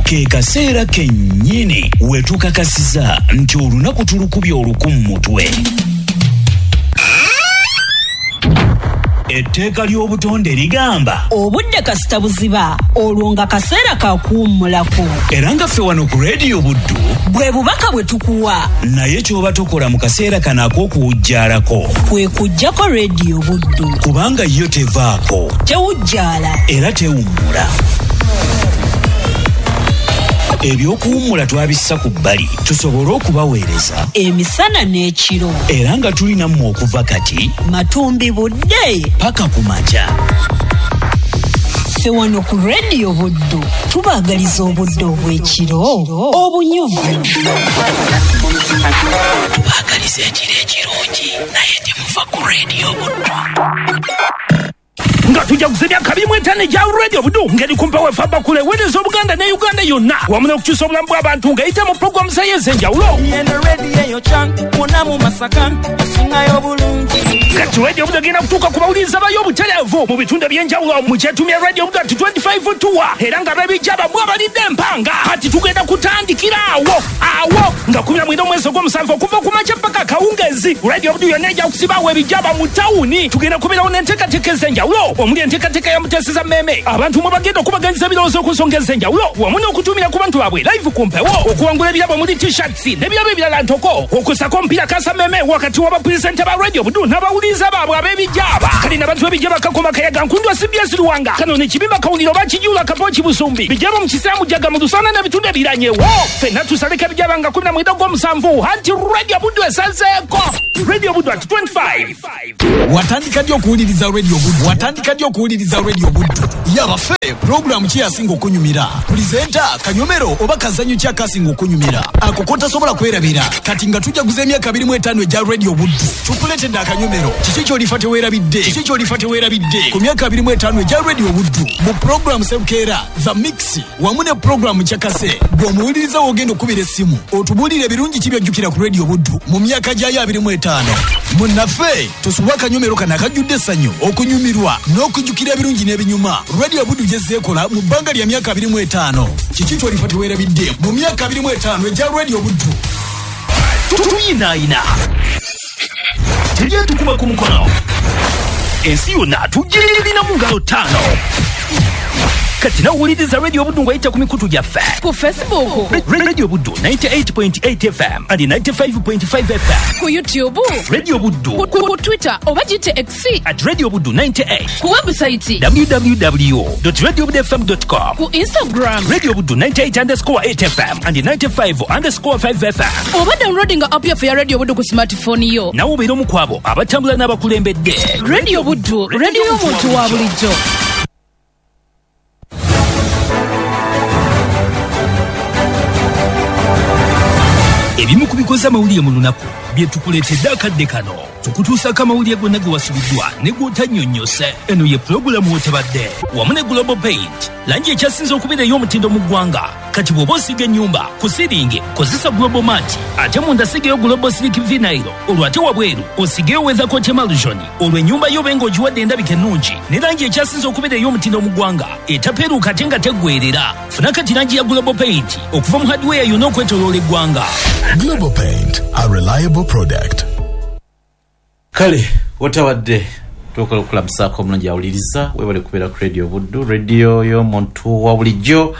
Ke kaseera kennyini we tukakasiza nti olunaku tulukubye oluku mu mutwe. Etteeka ly'obutonde ligamba obudde kasita buziba, olwo nga kaseera ka kuwummulako. Era nga ffe wano ku Radio Buddu bwe bubaka bwe tukuwa. Naye ky'oba tokola mu kaseera kano ak'okuwujjaalako kwe kuggyako Radio Buddu, kubanga yo tevaako, tewujjaala era tewummula. Ebyokuwummula twabissa ku bbali tusobole okubaweereza emisana n'ekiro, era nga tulina mmwe okuva kati matumbi budde paka ku makya. Ffe wano ku Radio Buddu tubaagaliza obudde obw'ekiro obunyuvu. Tubaagaliza ekiro ekirungi, naye temuva ku Radio Buddu. Nga tujja kuzibya 25 egya Radio Buddu ngeri kumpa wefa bakule weereza Obuganda ne Uganda yonna wamu n'okukyusa obulamu bw'abantu ng'eyita mu pulogulaamu zayo ez'enjawulo. Kati Radio Buddu egenda kutuuka ku bawuliriza bayo obutereevu mu bitundu eby'enjawulo mu kyetumya Radio Buddu at 25 tour, era nga b'ebijja bammwe abalidde empanga. Kati tugenda kutandikira awo awo nga 19 omwezi ogw'omusanvu okuva ku makya paka akawungeezi. Radio Buddu yonna ejja kusibaawo ebijjaba mu tawuni. Tugenda kubeerawo n'enteekateeka ez'enjawulo omuli enteekateeka ya Muteeseza Mmeeme, abantu mwe bagenda okubaganyiza ebirowoozo ku nsonga ez'enjawulo wamu n'okutumira ku bantu baabwe live ku mpewo, okuwangula ebirabo muli t-shirts n'ebirabo ebirala ntoko, okusako omupiira kasa mmeeme wakati w'abapulezidenti ba Radio Buddu n'abawuliriza baabwe ab'ebijjaba. Kale n'abantu b'ebijjaba Kakoma Kayaga Nkundwa CBS Luwanga kano ne Kibimba Kawuliro Bakijula Kapoki Busumbi bijjaba mu Kisiramu Jaga mu Lusana n'ebitundu ebiranyewo. Ffenna tusaleko ebijjaba nga 19 ogw'omusanvu anti Radio Buddu esazeeko. Radio Buddu at 25. Watandika ddi okuwuliriza Radio Buddu? Watandika ddi okuwuliriza Radio Buddu? Yabaffe, pulogulaamu ki yasinga okunyumira? Pulizenta, kanyomero oba kazannyo ki akasinga okunyumira? Ako kotasobola kwerabira. Kati nga tujaguza emyaka 25 egya Radio Buddu, tukuleetedde akanyomero. Kiki ky'olifa teweerabidde? Kiki ky'olifa teweerabidde? Ku myaka 25 egya Radio Buddu, mu pulogulaamu Sebukeera, The Mix, wamu ne pulogulaamu Kyakase, bw'omuwuliriza w'ogenda okubira essimu, otubuulire ebirungi ki by'ojjukira ku Radio Buddu mu myaka gyayo 25. Munnaffe, tosubwa akanyomero kano akajjudde essanyu, okunyumirwa n'okujjukira ebirungi n'ebinyuma Radio Buddu gyezzeekola mu bbanga lya myaka 25. Kiki ky'olifa teweerabidde mu myaka 25 egya Radio Buddu? Tuyinaayina tujye tukuba ku mukono, ensi yonna tugirina mu ngalo 5. Kati nawuliriza Radio Buddu ng'oyita ku mikutu gyaffe ku Facebook Radio Buddu 98.8 FM and 95.5 FM, ku YouTube Radio Buddu, ku Twitter oba gite X at Radio Buddu 98, ku website www.radiobudufm.com, ku Instagram Radio Buddu 98_8 FM and 95_5 FM, oba downloading app yaffe ya Radio Buddu ku smartphone yo. Nawe obeera omu ku abo abatambula n'abakulembedde. Radio Buddu, radio y'omuntu wa bulijjo. Ebimu ku bikoze amawulire mu lunaku bye tukuleetedde akadde kano. Tukutuusaako amawulire gonna ge wasubiddwa ne gw'otannyonnyose. Eno ye pulogulaamu w'otabadde wamu ne Global Paint, langi ekyasinze okubeera ey'omutindo mu ggwanga. Kati bw'oba osiiga ennyumba ku siringi kozesa Global Mat, ate munda sigeyo Global Silk Vinyl, olwo ate wabweru osigeyo Weathercoat Emulsion, olwo ennyumba yo obe ng'ogiwadde endabika ennungi ne langi ekyasinze okubeera ey'omutindo mu ggwanga etapeeruuka ate nga teggweerera. Funa kati langi ya Global Paint okuva mu hardware yonna okwetooloola eggwanga. Global Paint, a reliable product. Kale otabadde tukola okulamusaako omulungi awuliriza, webale kubeera ku Radio Buddu, radio y'omuntu wa bulijjo.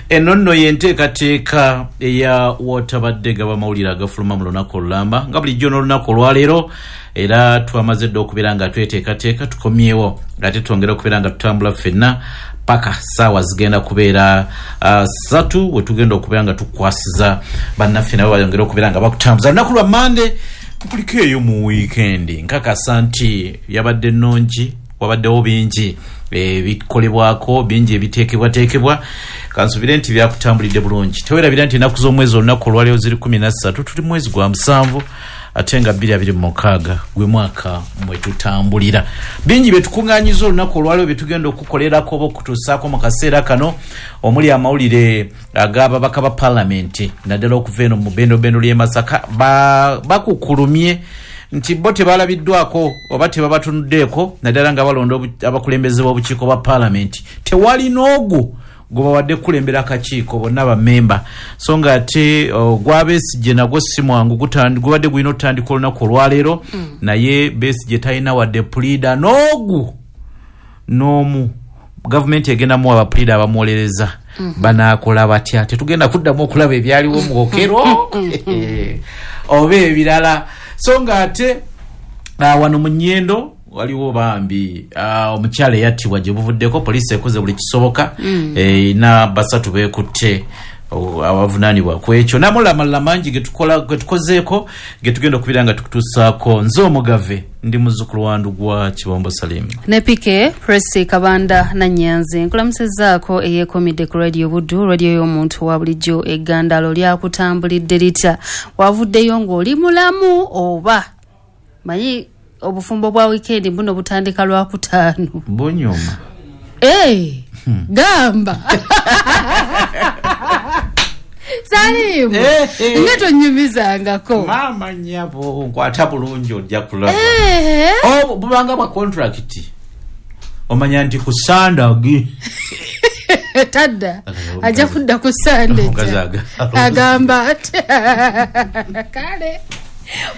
Eno nno y'enteekateeka eya wotabadde gaba amawulire agafuluma mu lunaku olulamba nga bulijjo n'olunaku olwaleero, era twamaze dda okubeera nga tweteekateeka tukomyewo ate twongera okubeera nga tutambula ffenna paka saawa zigenda kubeera 3 we tugenda okubeera nga tukwasiza bannaffe nabo bayongere okubeera nga bakutambuza. Lunaku lwa Mande kukuliko eyo mu wiikendi, nkakasa nti yabadde nnungi, wabaddewo bingi ebikolebwako, bingi ebiteekebwateekebwa. Kansubire nti byakutambulidde bulungi. Tewerabira nti ennaku z'omwezi olunaku olwaleero ziri 13, tuli mwezi gwa 7 ate nga 2026 gwe mwaka mwe tutambulira. Bingi bye tukuŋŋaanyiza olunaku olwaleero bye tugenda okukolerako oba okutuusaako mu kaseera kano, omuli amawulire ag'ababaka ba paalamenti naddala okuva eno mu bendobendo ly'e Masaka bakukulumye nti bo tebalabiddwako oba tebabatunuddeeko naddala nga balonda abakulembeze b'obukiiko bwa paalamenti. Tewali n'ogu Gwebawadde kukulembera akakiiko bonna bamemba, so nga ate ogwa Besigye nagwo si mwangu, gubadde gulina otutandika olunaku olwaleero, naye Besigye talina wadde puliida n'ogu n'omu. Gavumenti egenda muwa abapuliida abamuwolereza. Banaakola batya? Tetugenda kuddamu okulaba ebyaliwo mu Okello oba ebirala. So nga ate wano mu Nyendo waliwo bambi omukyala eyattibwa gye buvuddeko, poliisi ekoze buli kisoboka, erina 3 beekutte abavunaanibwa ku ekyo n'amalala mangi getukozeeko getugenda okubeera nga tukutuusaako. Nze Omugave, ndi muzzukulu wa Ndugwa Kibombo Salim ne PK Presi Kabanda Nanyanzi. Nkulamusizzaako eyeekomidde ku Radio Buddu, radio y'omuntu wa bulijjo. Eggandalo lyakutambulidde litya? Wavuddeyo ng'oli mulamu oba manyi obufumbo bwa weekend buno butandika Lwakutaano? Bunyuma. Gamba Salimu, nga tonyumizangako. Maama nnyabo, nkwata bulungi ojja kulaba. Bubanga bwa contract, omanya nti ku Sande tadda ajja kudda ku Sande agamba ati kale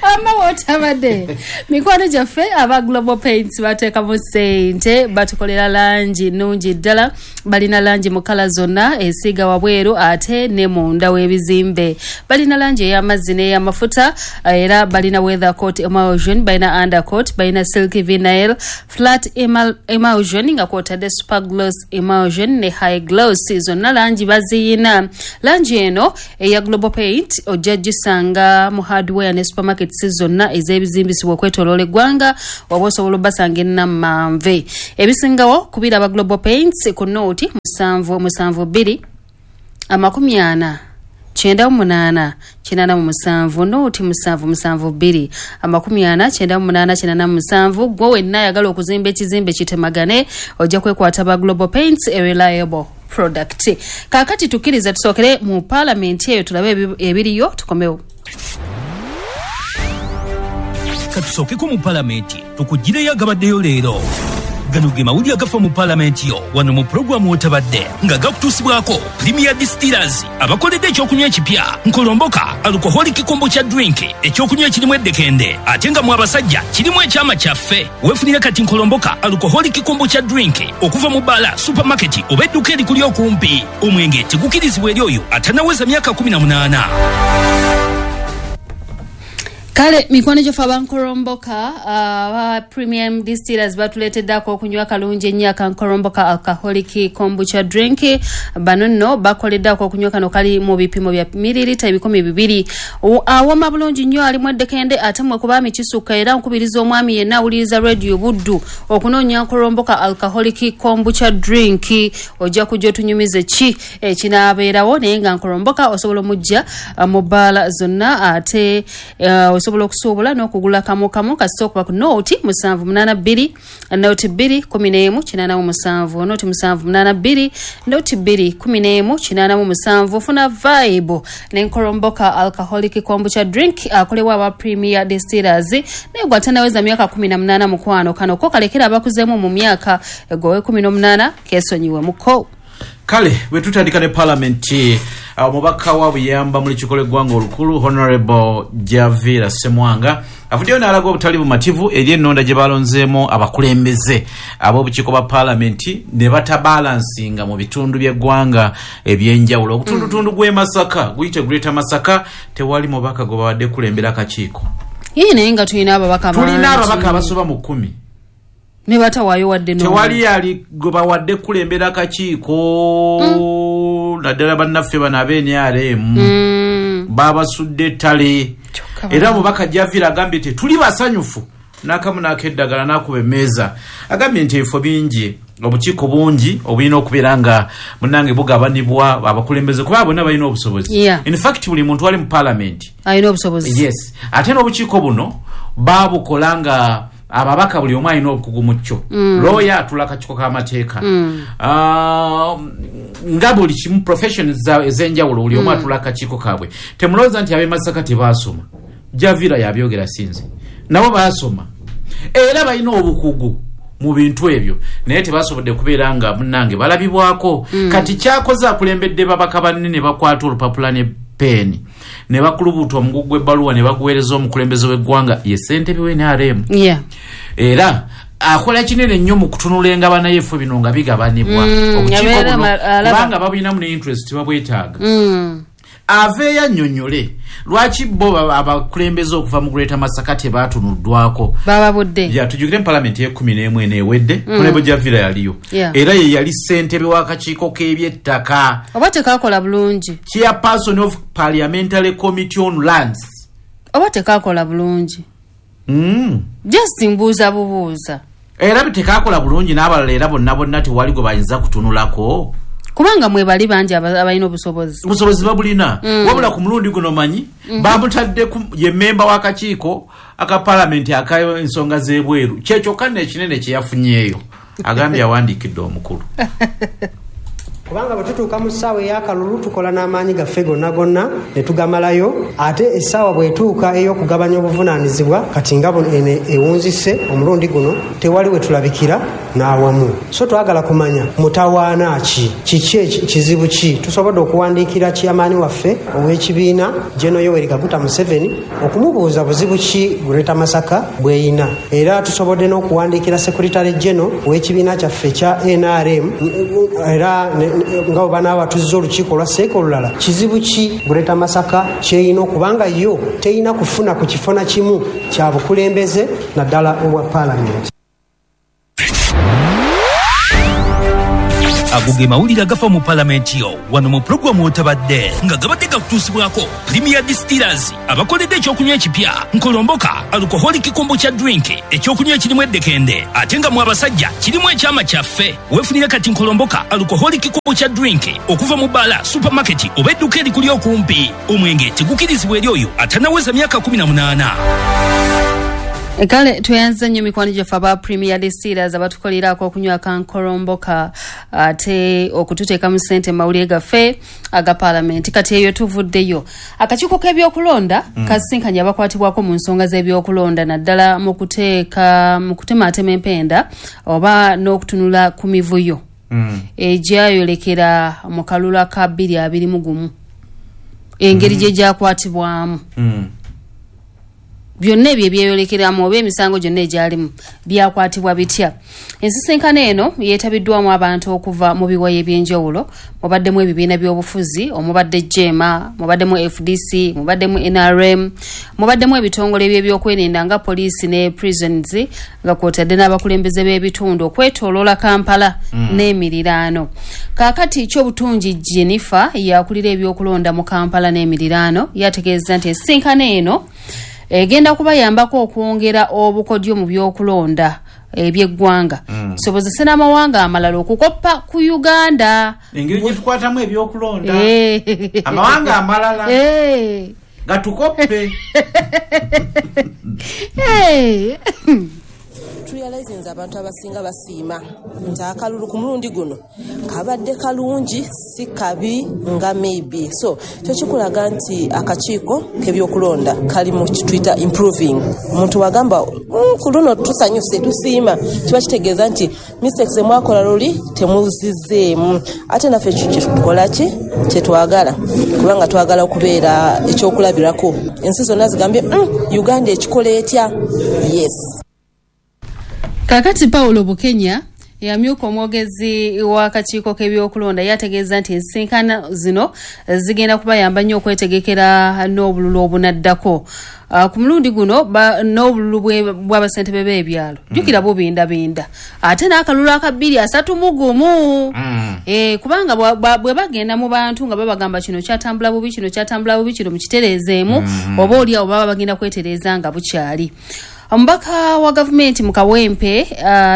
wamma wotabadde. Mikwano gyaffe aba Global Paints bateekamu ssente, batukolera langi nnungi ddala. Balina langi mu kala zonna, esiiga wabweru ate ne munda w'ebizimbe. Balina langi ey'amazzi n'ey'amafuta, era balina weather coat emulsion, balina undercoat, balina silk vinyl flat emulsion nga kwotadde super gloss emulsion ne high gloss. Zonna langi baziyina. Langi eno eya Global Paint ojja gisanga mu hardware ne supermarkets zonna ez'ebizimbisibwa okwetooloola eggwanga, waba osobola obbasanga ennamanve. Ebisingawo kubira aba Global Paints ku nooti 772 40 98 87, nooti 772 40 98 87. Gwe wenna ayagala okuzimba ekizimbe kitemagane, ojja kwekwata ba Global Paints, a reliable product. Kaakati tukkiriza tusookere mu paalamenti eyo tulabe ebiriyo, tukomewo. Katusookeko mu palamenti tukugireyo agabaddeyo leero. Gano ge mawulire agafa mu palamenti yo wano mu pulogulaamu wotabadde, nga gakutuusibwako Premier Distillers abakoledde ekyokunywa ekipya Nkolomboka alcoholic kombucha drink, ekyokunywa ekirimu eddekende ate nga mu abasajja kirimu ekyama kyaffe. Weefunire kati Nkolomboka alcoholic kombucha drink okuva mu bbaala, supermarket oba edduka erikuli okumpi. Omwenge tegukirizibwa eri oyo atanaweza myaka 18. Kale mikwano gyaffe abankolomboka aba Premium Distillers batuleeteddako okunywa kalungi ennyo akankolomboka alcoholic kombucha drink. Bano nno bakoleddako okunywa kano kali mu bipimo bya mililita 200. Awoma bulungi nnyo, alimu eddekende ate mwe kubaami kisukka. Era nkubiriza omwami yenna awuliriza Radio Buddu okunoonya nkolomboka alcoholic kombucha drink. Ojja kujja otunyumize ki ekinaabeerawo, naye nga nkolomboka osobola omujja mu bbaala zonna ate osobola okusuubula n'okugula kamu kamu kasita okuba ku nooti 782 nooti 2 11 87, nooti 782 nooti 2 11 87. Funa vibe n'enkolomboka alcoholic kombucha drink akolebwa aba Premier Distillers, naye gwe atanaweza myaka 18 mukwano, kano ko kalekera abakuzeemu mu myaka egowe 18 keesonyiwe muko. Kale bwe tutandika ne palamenti, omubaka wa Buyamba mu lukiiko lw'eggwanga olukulu Honorable Javira Ssemwanga avuddeyo n'alaga obutali bumativu eri ennonda gye balonzeemu abakulembeze ab'obukiiko bwa palamenti ne batabalansinga mu bitundu by'eggwanga ebyenjawulo. Ogutundutundu gw'e Masaka guyite Greater Masaka tewali mubaka gwe babadde kulembera akakiiko. Yee, naye nga tulina ababaka bangi. Tulina ababaka abasoba mu 10 ne batawaayo wadde n'omu. Tewali ali gwe bawadde kulembera akakiiko, naddala bannaffe bano ab'NRM babasudde ettale. Era omubaka Javira agambye nti tuli basanyufu n'akamu n'akeddagala n'akuba emmeeza. Agambye nti ebifo bingi, obukiiko bungi obulina okubeera nga munnange bugabanibwa abakulembeze, kuba bonna balina obusobozi. In fact buli muntu ali mu palamenti alina obusobozi. Yes, ate n'obukiiko buno babukola nga ababaka buli omu alina obukugu mu kyo. Lawyer atula akakiiko k'amateeka, nga buli kimu professions ez'enjawulo buli omu atula akakiiko kaabwe. Temulowooza nti ab'e Masaka tebaasoma. Javira yabyogera sinze, nabo baasoma era balina obukugu mu bintu ebyo, naye tebasobodde kubeera nga munnange balabibwako. Kati kyakoze, akulembedde babaka banne ne bakwata olupapula ne peeni ne bakulubuuta omugugu gw'ebbaluwa ne baguweereza omukulembeze w'eggwanga, ye ssentebe w'NRM. Era akola kinene nnyo mu kutunula engabana y'ebifo bino nga bigabanibwa, obukiiko abeera buno, alaba. Kubanga babulinamu ne interest, babwetaaga. Aveeyo annyonnyole lwaki bo abakulembeze okuva mu Greater Masaka tebaatunuddwako. Bababudde. Ya, tujjukire mu palamenti y'e11 ewedde, Honorable Javira yaliyo, era ye yali ssentebe w'akakiiko k'ebyettaka. Oba tekakola bulungi? Chairperson of Parliamentary Committee on Lands. Oba tekakola bulungi? Just mbuuza bubuuza. Era tekakola bulungi, n'abalala era bonna bonna tewali gwe bayinza kutunulako? Kubanga mwebali bangi abalina obusobozi. Obusobozi babulina, wabula ku mulundi guno manyi bamutadde ye memba w'akakiiko aka palamenti ak'ensonga z'ebweru. Kyekyokka nno ekinene kye yafunyeeyo. Agambye awandiikidde omukulu. Kubanga bwe tutuuka mu ssaawa ey'akalulu, tukola n'amaanyi gaffe gonna gonna ne tugamalayo, ate essaawa bw'etuuka ey'okugabanya obuvunaanyizibwa, kati nga buno eno ewunzise omulundi guno, tewali we tulabikira n'awamu. So twagala kumanya mutawaana ki, kiki kizibu ki. Tusobodde okuwandiikira chairman waffe ow'ekibiina, General Yoweri Kaguta Museveni, okumubuuza buzibu ki Greater Masaka bw'eyina. Era tusobodde n'okuwandiikira Secretary General ow'ekibiina kyaffe ekya NRM, era nga bwe banaaba tuzza olukiiko olwa seeka olulala, kizibu ki Greater Masaka kyeyina, okubanga yo teyina kufuna ku kifo na kimu kya bukulembeze, naddala obwa paalamenti. Ago ge mawulire agafa mu palamenti yo wano mu puroguramu Otabadde, nga gabadde gakutuusibwako Premier Distillers, abakoledde ekyokunywa ekipya Nkolomboka Alcoholic Kombucha Drink, ekyokunywa ekirimu eddekende ate nga mu abasajja kirimu ekyama kyaffe. Weefunire kati Nkolomboka Alcoholic Kombucha Drink okuva mu bbaala, supermarket oba edduka erikuli okumpi. Omwenge tegukirizibwa eri oyo atanaweza myaka 18. Kale tweyanze nnyo mikwano gyaffe aba Premier Distillers abatukolerako okunywa kankolomboka ate okututeekamu ssente mu mawulire gaffe aga paalamenti. Kati eyo tuvuddeyo. Akakiiko k'ebyokulonda kasisinkanye abakwatibwako mu nsonga z'ebyokulonda, naddala mu kuteeka mu kutemaatema empenda oba n'okutunula ku mivuyo egyayolekera mu kalulu aka 2021, engeri gye gyakwatibwamu, byonna ebyo ebyeyolekeramu oba emisango gyonna egyalimu byakwatibwa bitya. Ensisinkano eno yeetabiddwamu abantu okuva mu biwayi ebyenjawulo, mubaddemu ebibiina by'obufuzi, omubadde JEEMA, mubaddemu FDC, mubaddemu NRM, mubaddemu ebitongole by'ebyokwerinda nga poliisi ne prisons, nga kwotadde n'abakulembeze b'ebitundu okwetooloola Kampala n'emiriraano. Kaakati Kyobutungi Jennifer yakulira ebyokulonda mu Kampala n'emiriraano, yategeeza nti ensisinkano eno egenda kubayambako okwongera obukodyo mu byokulonda ebyeggwanga, kisobozese n'amawanga amalala okukoppa ku Uganda. Engeri gye tukwatamu ebyokulonda, amawanga amalala gatukoppe. Turealizinze abantu abasinga basiima nti akalulu ku mulundi guno kabadde kalungi, si kabi nga maybe. So kyo kikulaga nti akakiiko k'ebyokulonda kali mu kituyita improving. Omuntu wagamba, ku luno tusanyuse, tusiima," kiba kitegeeza nti mistakes emwakola luli temuzizeemu. Ate naffe ekyo kyetukola ki kyetwagala, kubanga twagala okubeera ekyokulabirako. Ensi zonna zigambye, Uganda ekikola etya?" Yes. Kakati Paulo Bukenya yamyuka omwogezi w'akakiiko k'ebyokulonda, yategeeza nti ensisinkano zino zigenda kubayamba nnyo okwetegekera n'obululu obunaddako. Ku mulundi guno n'obululu bw'abasentebe b'ebyalo, jjukira bubindabinda, ate n'akalulu aka 2031. Kubanga bwe bagenda mu bantu nga babagamba kino kyatambula bubi, kino kyatambula bubi, kino mukitereezeemu, oba oli awo baba bagenda kwetereeza nga bukyali. Omubaka wa gavumenti mu Kawempe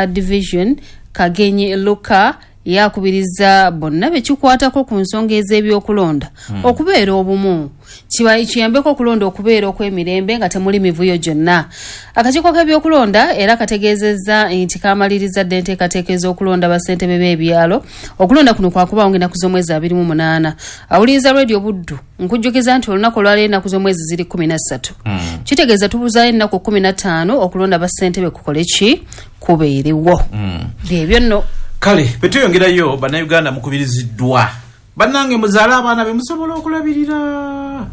Division, Kagenyi Luka, yakubiriza bonna bekikwatako ku nsonga ez'ebyokulonda okubeera obumu, kiyambeko okulonda okubeera okw'emirembe nga temuli mivuyo gyonna. Akakiiko k'ebyokulonda era kategeezezza nti kamaliriza dda enteekateeka ez'okulonda bassentebe b'ebyalo. Okulonda kuno kwakubaawo ng'ennaku z'omwezi 28. Awuliriza Radio Buddu, nkujjukiza nti olunaku olwaleero ennaku z'omwezi ziri 13. Kitegeeza tubuzaayo ennaku 15 okulonda bassentebe kukole ki kubeerewo. Byebyo nno. Kale bwetweyongerayo, bannayuganda mukubiriziddwa, bannange muzaale abaana be musobola okulabirira,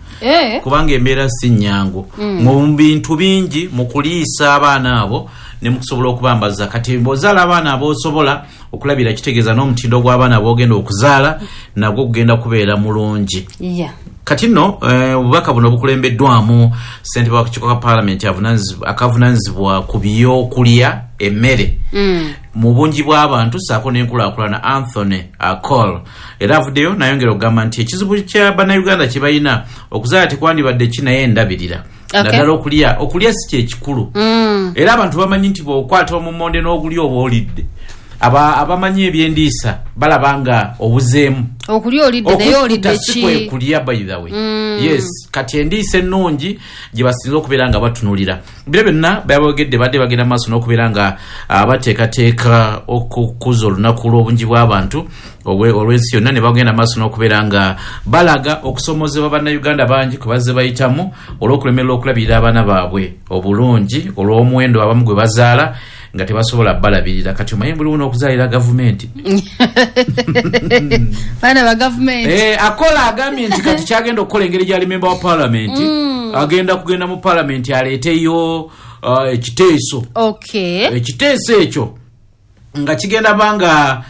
kubanga embeera si nnyangu mu bintu bingi, mu kuliisa abaana abo ne mukusobola okubambaza. Kati bw'ozaala abaana ab'osobola okulabira, kitegeeza n'omutindo gw'abaana b'ogenda okuzaala nagwo gugenda kubeera mulungi. Kati nno obubaka buno bukulembeddwamu ssentebe w'akakiiko ka paalamenti akavunaanyizibwa ku byokulya, emmere mu bungi bw'abantu ssaako n'enkulaakulana, Anthony Akol. Era avuddeyo nayongera okugamba nti ekizibu kya bannayuganda kye balina okuzaala tekwandibadde ki, naye endabirira, naddala okulya. Okulya si kyekikulu, era abantu bamanyi nti bw'okwata omumonde n'ogulya oba olidde. Abamanyi ebyendiisa balaba nga obuzeemu. Okulya olidde, naye olidde si ki? Kwe kulya, by the way. Yes, kati endiisa ennungi gye basinza okubeera nga batunulira. Biro byonna babogedde badde bagenda maaso n'okubeera nga bateekateeka okukuza olunaku lw'obungi bw'abantu olw'ensi yonna, ne bagenda maaso n'okubeera nga balaga okusomozebwa bannayuganda bangi kwe bazze bayitamu olw'okulemererwa okulabirira abaana baabwe obulungi, olw'omuwendo abamu gwe bazaala nga tebasobola balabirira. Kati omanyi buliwo n'okuzaalira gavumenti. Baana ba gavumenti. Akola agambye nti kati kyagenda okukola, engeri gyali memba wa paalamenti, agenda kugenda mu paalamenti aleeteyo ekiteeso. Ekiteeso ekyo nga kigenda banga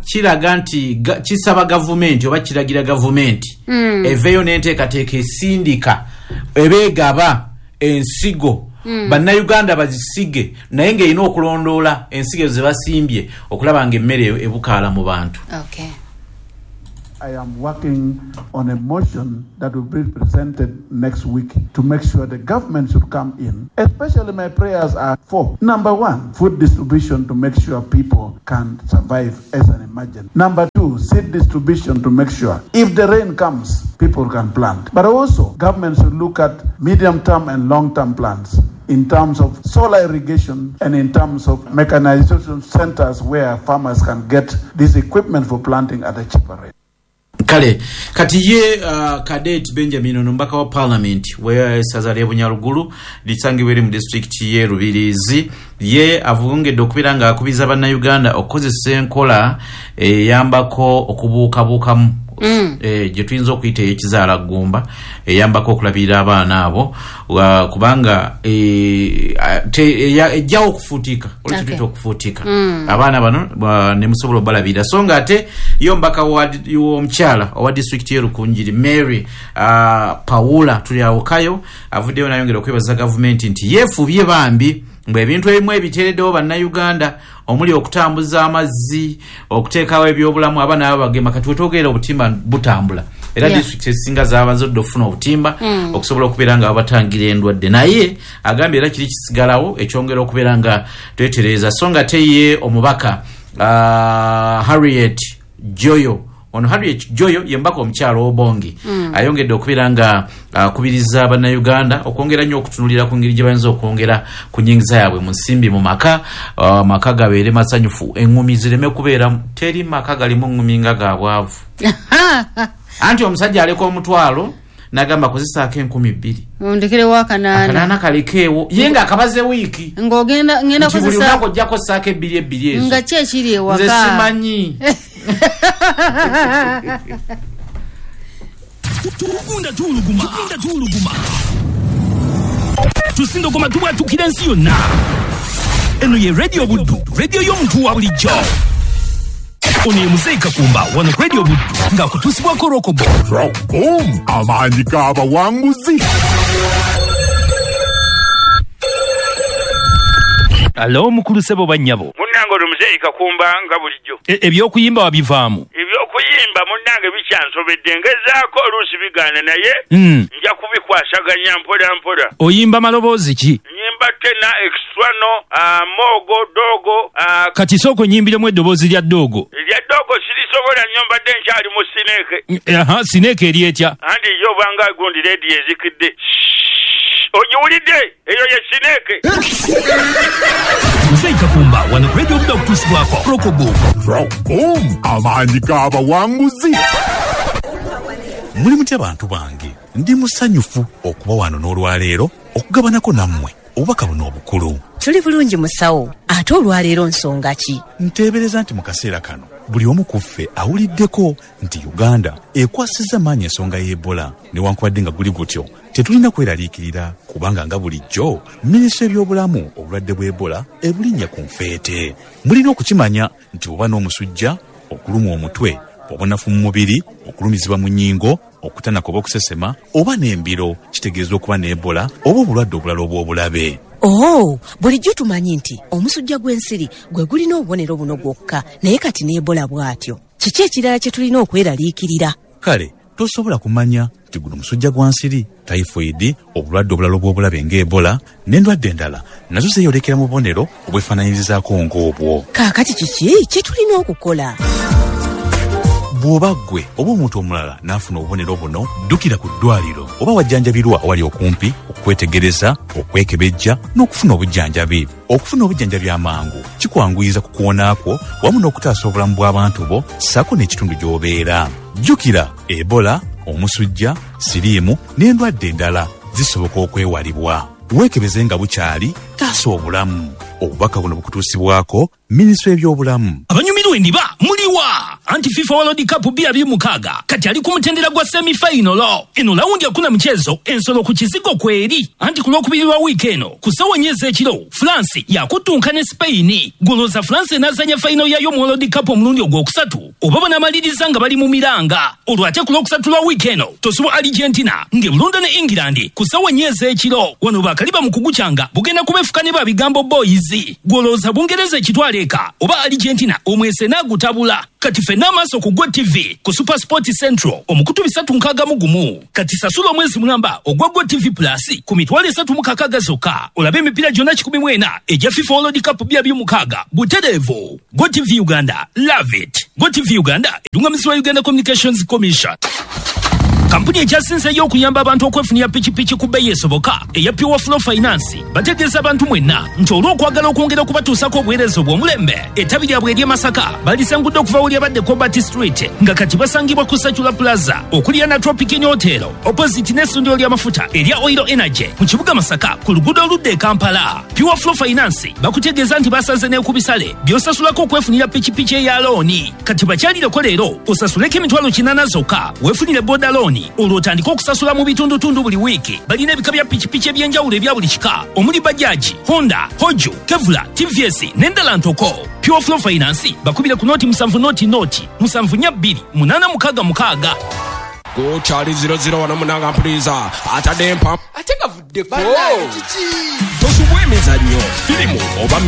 kiraga nti kisaba gavumenti oba kiragira gavumenti eveeyo n'enteekateeka esindika ebeegaba ensigo, bannayuganda bazisige, naye ng'erina okulondoola ensigo ezo ze basimbye okulaba ng'emmere ebukaala mu bantu. I am working on a motion that will be presented next week to make sure the government should come in. Especially my prayers are four. Number one, food distribution to make sure people can survive as an emergency. Number two, seed distribution to make sure if the rain comes, people can plant. But also, government should look at medium-term and long-term plans in terms of solar irrigation and in terms of mechanization centers where farmers can get this equipment for planting at a cheaper rate. Kale kati ye Cadet Benjamin, ono mubaka wa parliament w'essaza ly'e Bunyarugulu lisangibwa eri mu disitulikiti y'e Rubirizi, ye avungedde okubeera nga akubiza bannayuganda okukozesa enkola eyambako okubuukabuukamu, gye tuyinza okuyita ey'ekizaala ggumba, eyambako okulabirira abaana abo, kubanga ejjawo okufuutika olwekyo tuyita okufuutika abaana bano ne musobola obalabirira. So nga ate ye omubaka w'omukyala owa disitulikiti y'e Rukungiri, Mary Paula Tulyawukayo, avuddeyo nayongera okwebaza gavumenti nti yeefubye bambi mbwe ebintu ebimu ebiteereddewo bannayuganda, omuli okutambuza amazzi, okuteekawo ebyobulamu, abaana babagema. Kati wetwogerera obutimba butambula, era disitulikiti ezisinga zabanze odda okufuna obutimba okusobola okubeera nga babatangira endwadde. Naye agambye era kiri kisigalawo ekyongera okubeera nga twetereeza. So nga te ye omubaka Harriet Joyo, ono Harriet Joyo ye mubaka omukyalo Obongi, ayongedde okubeera nga akubiriza bannayuganda okwongera nnyo okutunulira ku ngeri gye bayinza okwongera ku nnyingiza yaabwe mu nsimbi mu maka, amaka gabeere masanyufu, eŋŋumi zireme kubeera. Teri maka galimu ŋŋumi nga ga bwavu. Anti omusajja aleka omutwalo n'agamba kozesaako 2000, ondekerewo 800. 800 kalekeewo, ye ng'akabaze wiiki ng'ogenda ngenda nti buli kozesa lunaku ojjako saako ebbiri ebbiri ezo. Nga ki ekiri Nze ewaka? Simanyi. Tugunda tuwuluguma, tugunda tuwuluguma, tusindogoma, tubwatukira ensi yonna. Eno ye Radio Buddu, radio y'omuntu wa bulijjo. Ono ye Muzeeyi Kakumba wano ku Radio Buddu ng'akutuusibwako Rokobo. Rockboom, amaanyi g'abawanguzi. Alo mukulu, ssebo bannyabo. Munnange, ono Muzeeyi Kakumba nga bulijjo. Ebyokuyimba wabivaamu? Ebyokuyimba munnange bikyansobedde, ngezaako oluusi bigaana, naye nja kubikwasaganya mpola mpola. Oyimba maloboozi ki? Nyimba tenor, extrano, mogo, dogo. Kati sooka onyimbiremu eddoboozi lya ddoogo. Erya dogo sirisobola nnyo, mbadde nkyali mu sineeke. Aha, sineeke eri etya? Anti yo obanga gundi rediyo ezikidde, ogiwulidde? Eyo ye sineeke. Muzeeyi Kakumba wano ku Radio Buddu akutuusibwako Rokobo. Rockboom, amaanyi g'abawanguzi. Muli mutya bantu bange? Ndi musanyufu okuba wano n'olwaleero okugabanako nammwe obubaka buno obukulu. Tuli bulungi musawo, ate olwaleero nsonga ki? Nteebereza nti mu kaseera kano buli omu ku ffe awuliddeko nti Uganda ekwasizza maanyi ensonga y'Ebola. Newankubadde nga guli gutyo, tetulina kweraliikirira kubanga nga bulijjo minisitule y'ebyobulamu obulwadde bw'Ebola ebulinnya ku nfeete. Mulina okukimanya nti bw'oba n'omusujja, okulumwa omutwe, obunafu mu mubiri, okulumizibwa mu nnyingo, okutanaka oba okusesema, oba n'embiro, kitegeeza okuba ne Ebola oba obulwadde obulala obw'obulabe. Oh, bulijjo tumanyi nti omusujja gw'ensiri gwe gulina obubonero buno gwokka, naye kati ne Ebola bw'atyo. Kiki ekirala kye tulina okweraliikirira? Kale tosobola kumanya nti guno musujja gwa nsiri, typhoid, obulwadde obulala obw'obulabe nga Ebola n'endwadde endala nazo zeeyolekera mu bubonero obwefaanaanyirizaako ng'obwo. Kaakati kiki kye tulina okukola? Bw'oba ggwe oba omuntu omulala n'afuna obubonero buno, ddukira ku ddwaliro oba wajjanjabirwa awali okumpi okwetegereza, okwekebejja n'okufuna obujjanjabi. Okufuna obujjanjabi amangu kikwanguyiza ku kuwona kwo wamu n'okutaasa obulamu bw'abantu bo ssaako n'ekitundu gy'obeera. Jjukira, Ebola, omusujja, siriimu n'endwadde endala zisoboka okwewalibwa. Weekebeze nga bukyali, taasa obulamu. Obubaka buno bukutuusibwako minisitule y'ebyobulamu. Abanyumirwa endiba muliwa? Anti FIFA World Cup 2026 kati ali ku mutendera gwa semifinal. Eno lawundi akuna mchezo ensolo ku kizigo kweri. Anti ku lwokubiri lwa wiiki eno ku ssaawa nnya ez'ekiro France yakutunka ne Spain. Goloza France enaazanya final yayo mu World Cup omulundi ogwokusatu oba banaamaliriza nga bali mu miranga. Olwo ate ku lwokusatu lwa wiiki eno tosubwa Argentina ng'ebulunda ne England ku ssaawa nnya ez'ekiro. Wano bakaliba mu kugucanga bugenda kubeefuka ne babigambo boys. Golooza Bungereza ekitwala eka oba Argentina omwese n'agutabula. Kati ffenna amaaso ku Go TV ku Super Sport Central omukutu 361. Kati sasula omwezi mulamba ogwa Go TV Plus ku 360 zokka olabe emipiira gyonna 14 egya FIFA World Cup 2026 butereevu. Go TV Uganda, love it. Go TV Uganda erungamizibwa Uganda Communications Commission. Kampuni ekyasinzeeyo okuyamba abantu okwefunira pikipiki ku bbeeyi esoboka eya Pure Flow Finance bategeeza abantu mwenna nti olw'okwagala okwongera okubatuusako obuweereza obw'omulembe, ettabi lyabwe ery'e Masaka balisangudde okuva we lyabadde Cobalt Street nga kati basangibwa ku Sacula Plaza okuliraana Tropic Inn Hotel opposite n'essundiro ly'amafuta erya Oil Energy mu kibuga Masaka ku luguudo oludda e Kampala. Pure Flow Finance bakutegeeza nti basaze ne ku bisale by'osasulako okwefunira pikipiki eya looni. Kati bakyalireko leero osasuleko 800,000 zokka weefunire boda looni olwo otandike okusasula mu bitundutundu buli wiiki. Balina ebika bya pikipiki eby'enjawulo ebya buli kika omuli Bajaji, Honda, Hoju, Kevula, TVS n'endala ntoko. Pure Flow Finance bakubire ku noti 7 noti noti 7 4 2 8 6 6. Gukyali 00 wano munanga mpuliriza atadde empa ate gavuddeko tosubwa emizannyo, firimu oba